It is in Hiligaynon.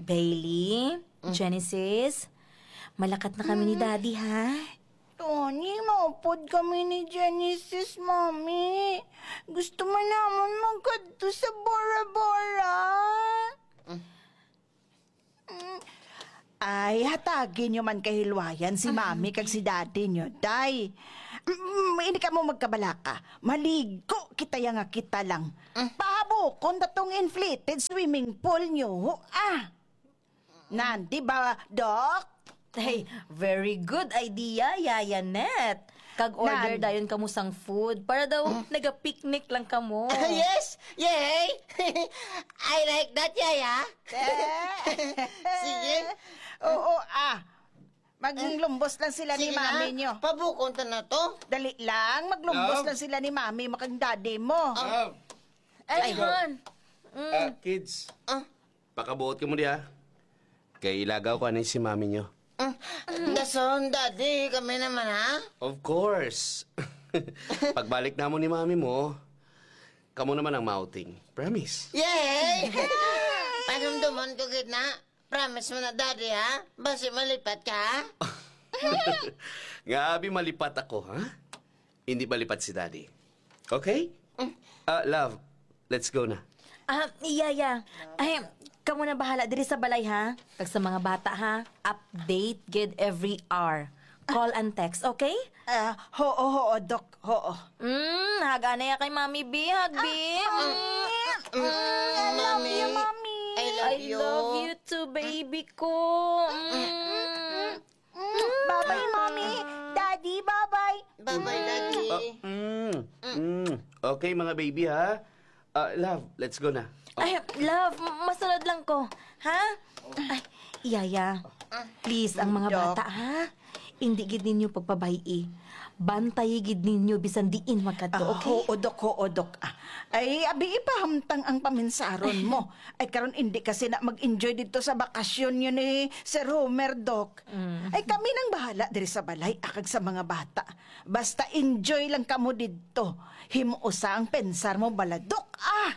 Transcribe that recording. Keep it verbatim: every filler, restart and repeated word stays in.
Bailey, Genesis, malakat na kami ni Daddy, ha? Tony, maupod kami ni Genesis, Mami. Gusto man namon magkadto sa Bora Bora. Mm. Ay, hatagi nyo man kahilwayan si Mami kag si Daddy nyo, day. Mm, ini kamo magkabalaka. Maligo kita ya nga kita lang. Pahabukon ta tong inflated swimming pool nyo, ah. Nan, di ba, Doc? Hey, very good idea, Yaya Net. Kag order Nan. dayon kamo sang food para daw naga-picnic lang kamo. Yes! Yay! I like that, Yaya. Sige. Oo, ah. Maglumbos lang sila ni Sige na, mami nyo. Pabukon ta na to. Dali lang, maglumbos Love? lang sila ni mami, makang daddy mo. Ah. Love, Ay, let's go. hon. Mm. Ah, kids, Ah. pakabuot kamo diha. Kay ilagaw ko ani si mami nyo. Mm. Dason, Daddy, kami naman, ha? Of course. Pagbalik namo ni mami mo, kamo naman ang mouting. Promise. Yay! Panumdumon ko gid na. Promise mo na, Daddy, ha? Basi malipat ka, ha? Nga abi malipat ako, ha? Hindi malipat si Daddy. Okay? Ah, love, let's go na. Ah, iya, iya. Ay, kamo na bahala diri sa balay, ha? Kag sa mga bata, ha? Update gid every hour. Call and text, okay? Ah, hoo, hoo, Doc, hoo. Mm, hag anay kay Mami B, hag B. Ah, Mm. mm, Mm, I love you, Mami. Mommy. I love I you. love you too, baby ko. Mm. Mm, bye-bye, Mommy. Daddy, bye-bye. Bye-bye, Daddy. Ah, mm, mm. Okay, mga baby, ha? Ah, love, let's go na. Ay, love, masunod lang ko. Ha? Ay, Yaya, please, ang mga Doc. bata, ha? Hindi gid ninyo pagpabay-i. Bantayi gid ninyo bisan diin magkadto, Ah, okay? oo, Doc, oo, Doc. Ah, ay, abi, ipahamtang ang paminsaron mo. Ay, karon hindi kasi na mag-enjoy dito sa bakasyon yun ni Sir Homer, Doc. Mm. Ay, kami nang bahala diri sa balay, akag sa mga bata. Basta enjoy lang kamo didto. Himuosa ang pensar mo, bala, Doc, ah!